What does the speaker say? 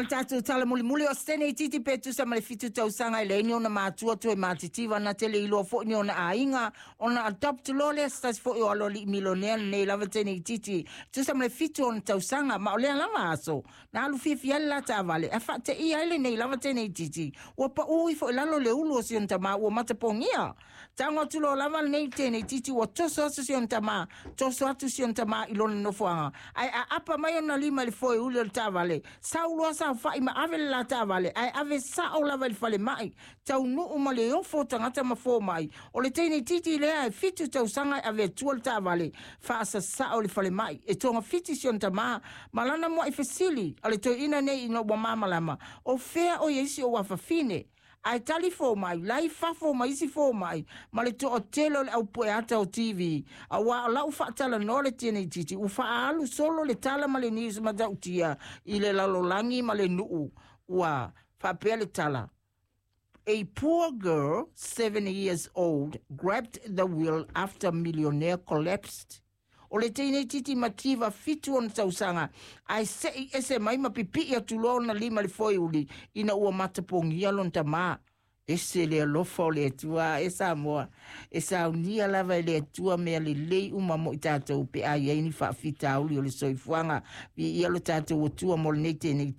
Le tatou tala mulimuli o se teineitiiti pe tusa ma le 7 tausaga e leai ni ona matua toe matitiva na te le iloa foi ni ona aiga ona adopt loa lea se tasi foi o aloalii milionea lenei lava teineitiiti tusa ma le 7 ona tausaga ma o lea lava aso na alu fiafia ai le la taavale ae faateia ai lenei lava teineitiiti ua paū ifo i lalo le ulu o si ona tamā ua matapogia. Tago atu loa lava lenei teineitiiti ua toso atu si ona tamā, toso atu si ona tamā i lona nofoaga ae aapa mai ona lima i le foe uli o le taavale, sau loa saofa'i ma ave le la taavale ae ave sa'o lava i le falema'i, taunuu ma le ofo o tagata ma foma'i. O le teineitiiti lea e 7 tausaga e ave atua le taavale faasasa'o i le falema'i e togafiti si ona tamā ma lana mua'i fesili a le toeaina nei ina ua malamalama o fea o i ai si ou afafine. Ae tali fomai, la i fafo ma isi fomai, ma le toatele o le au pueata o TV. Aua o lau faatalanoa le teineitiiti, ua faaalu solo le tala ma le news matautia i le lalolagi ma le nuu. Ua faapea le tala. A poor girl, 7 years old, grabbed the wheel after millionaire collapsed. O le teineitiiti mativa 7 ona tausaga, ae se'i ese mai ma pipi'i atu loa ona lima i le foeuli ina ua matapogia lona tamā. Ese le alofa o le Atua e Samoa, e saunia lava e le Atua mea lelei uma mo i tatou pe a i ai ni faafitauli o le soifuaga. Viia lo tatou Atua mo lenei teineitiiti.